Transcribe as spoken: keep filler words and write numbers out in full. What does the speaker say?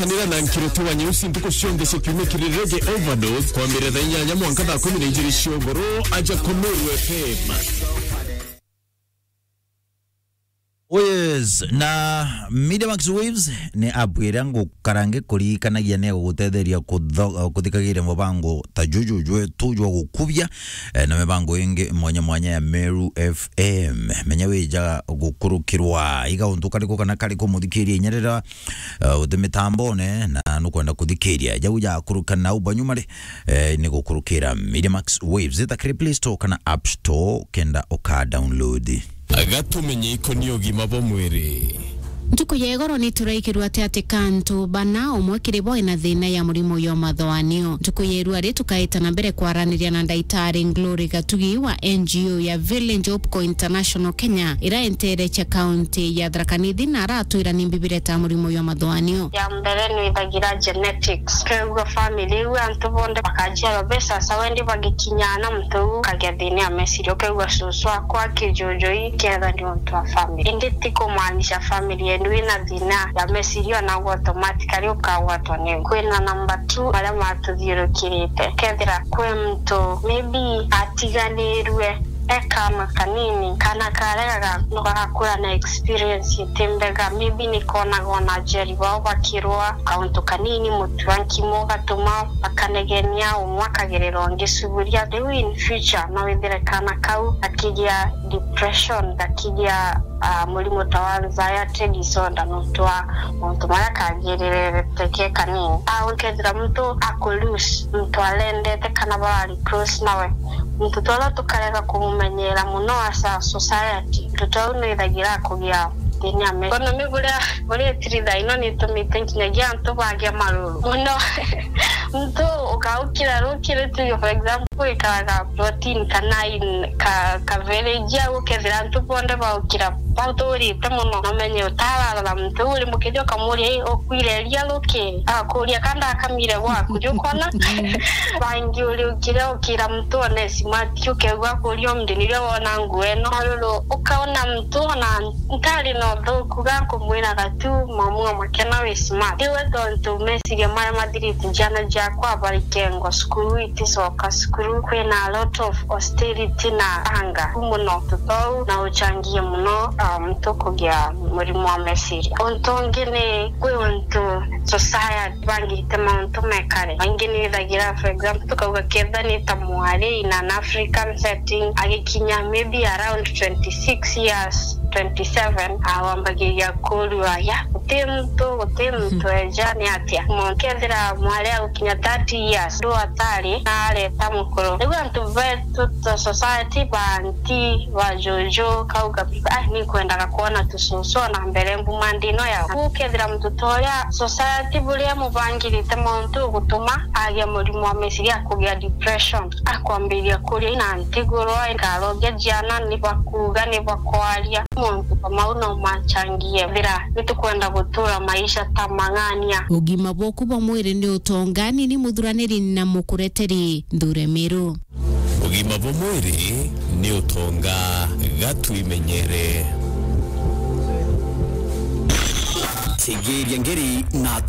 Kanira na nkiriti wa nyeusi ntuku cionthe cia kiumia kiri Reggae Overdose, kwambira thaa inyanya mwanka thaa kumi na ijiri cia ugoro, aja ku Meru F M. Oh yes, na Media Max Waves ni app iria ngukara ngikuririkanagia ni gugutetheria kutho-, kuthikagiria mubango ta juju jwetu jwa gukubia, eh, na mibango ingi mwanya mwanya ya Meru F M. Menya wija gukurukirwa iga untu kariku kana kariku muthikiria inya riria, eh, uti mitambone na nukwenda kuthikiria. Jau jakuruka na ubanyuma ri, eh, ni gukurukira Media Max Waves. Ita kiri Play Store kana App Store kenda uka download. Gatumenye ikoni ugima bwa mwiri. Ntuku ya igoro ni turaikirwa ati ati kantu bana umwe kiri bo ena thina ya murimo ya mathoanio. Ntuku ya irua ri tukaita na mbere kwaraniria na ndaitari Glory Gatugi wa N G O ya Village Hope Co International Kenya, ira enterecha kaunti ya Tharaka Nithi na aratwira ni mbibireta murimo ya mathoanio. Ya mbere ni ithagira genetics. Ukeigua family iu antu bonthe bakajiarwa be sasa wendi bagikinya na muntu u akagia thina ya meciria. Ukeigua cucu akwa kijujui ketha ni untu wa family. Indi ti kumaanisha family yenu ina thina ya meciria ona automatically ukagwatwa niu. Kwina number two baria matuthiurukirite. Kethira kwi muntu maybe atiganirue e kaana kanini, kaana karia gaga-, gagakura na experience iti mbega, maybe ni konaga ona aciari bao bakirwa kauntu kanini, mutu wa nkimo ugatuma bakanegenia, umwe akagerera ungi cuburia. Riu in future no withire kaana kau gakigia depression, gakigia, ah, murimo ta wa anxiety disorder, nontu wa mauntu maria kagirire teke kanini. Ah, ukethira muntu aku lose muntu arendete kana barari close nawe, muntu twara tukarega kumumenyera muno as a society, muntu twau nwithagira kugia thina me. Economy buria, buria itiri thaa ino nitumite nginyagia antu bagia maruru muno. Muntu ukaukira rukiri, tuge for example, ikaraga plot in kana in ka, ka village au, ukethira antu bonthe baukira bathurite muno, namenye utararora muntu uri mukithio ukamuria, "Ii, ukuire ria ruki?" Akuria, "Ka ndakamire gwaku?" Riu ukona bangi uri ukire ukira muntu one smart, ukeigua akuria, "Umdi nirio wona nguo ino?" Maruru, ukaona muntu ona ntari na uthuku, ga nkumwira gatu, mamu amwe kena wi smart. Riu we tontu meciria maria mathirite ciana ciakwa barikengwa cukuru, iticoka cukuru, kwina a lot of hostility na anger muno tutou na uchangie muno, um, muntu kugia murimo wa meciria. Untu ungi ni kwi untu society bangite mauntu mekare. Baingi ni ithagira, for example, tukauga ketha ni ta mwari in an African setting, agikinya maybe around twenty-six years, twenty-seven, awambagiria kurua, ya, guti muntu, guti muntu eja, ni atia? Mo-, kethira mwari agukinya thirty years, ndu atari, na areta mukuru. Riu antu betu ta society, banti, bajuju, kauga, "Ah, ni nkwendaga kwona tucucu na mbere mbuma ndino yao." Riu kethira muntu ta uria society buria mubangirite mauntu gutuma agia murimo wa meciria, kugia depression, akwambiria kuria na ntigurwa, nkarogia ciana, ni bakuuga, ni bakwaria. Mauntu ta mau no machangie. Ethira ni tukwenda gutura maisha ta mang'ania. Ugima bwaku bwa mwiri ni utonga, ni ni muthuraniri na mukureteri Nthure Miru. Ugima bwa mwiri ni utonga, ga twimenyere. Tegeria ngeri na